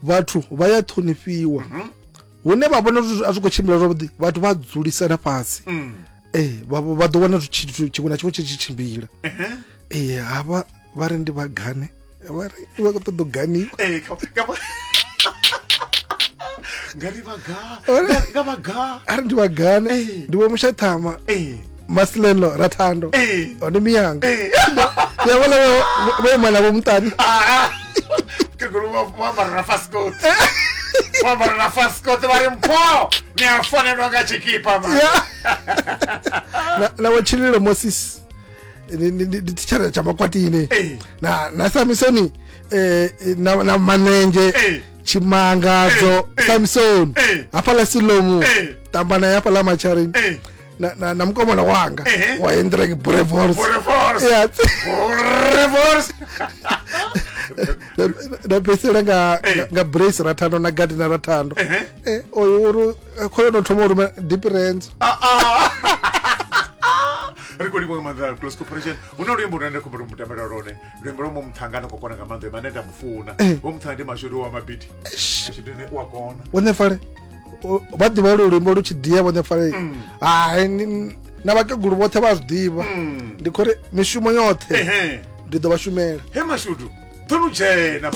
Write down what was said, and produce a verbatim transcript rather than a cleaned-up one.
Vhathu vha ya ṱhonifhiwa. Hune vha vhona zwithu a zwi khou tshimbila zwavhuḓi, vhathu vha dzulisana fhasi. Mm. Ee, vha vha ḓo wana zwithu tshiṅwe na tshiṅwe tshi tshi tshimbila. Ehe. Ee, havha vha ri ndi vhagane, vha ri vha khou ṱoḓa u ganiwa. Ee, kha- kha- nga ri vhaga nga- nga vhaga. A ri ndi vhagane. Ee. Ndi vho Mushathama. Ee. Masilelo Rathando. Ee. Ndi miyanga. Ee. Ya vhona vho ima navho muṱani. Ah, kegulu vho ambara na fasikoti, vho ambara na fasikoti, vha ri mpho ni a fanelwa nga tshikipa ma. Ya. na na vho Tshililo Moses, ndi ndi- ndi ndi thitshere tsha Makwatini. Ee. Na na Samsoni, eh na na Manenzhe. Ee. Tshimangadzo. Ee. Samsoni. Ee. Hafhaḽa Silomu. Ee. Tamba naye hafhaḽa Matsharini. Ee. Na na na mukomana wanga Ehe. wa Hendrik Brevors. Brevors. Ya. Brevors. Nda fhedzisela nga Ee. nga Brace Rathando na Gardner Rathando. Ehe. Eh oyu uri khoyo no thoma u rumela difference. Ah, ah. Ri khou livhuwa nga maanḓa Close Corporation. Hu na luimbo lune nda khou humbela u mutambela lwone, luimbo lwa muṱhanga no khou kona nga maanḓa, mane nda mufuna vho muṱhanga, ndi Mashudu wa Mabidi. Mashudu u a kona. Vhone fale vha ḓivha lu luimbo lu tshi dia vhone fale. Hai, ni- na vhakegulu vhoṱhe vha zwi ḓivha. Ndi khou ri mishumo yoṱhe Ehe. ndi ḓo vha shumela. He Mashudu, ḓo no dzhena.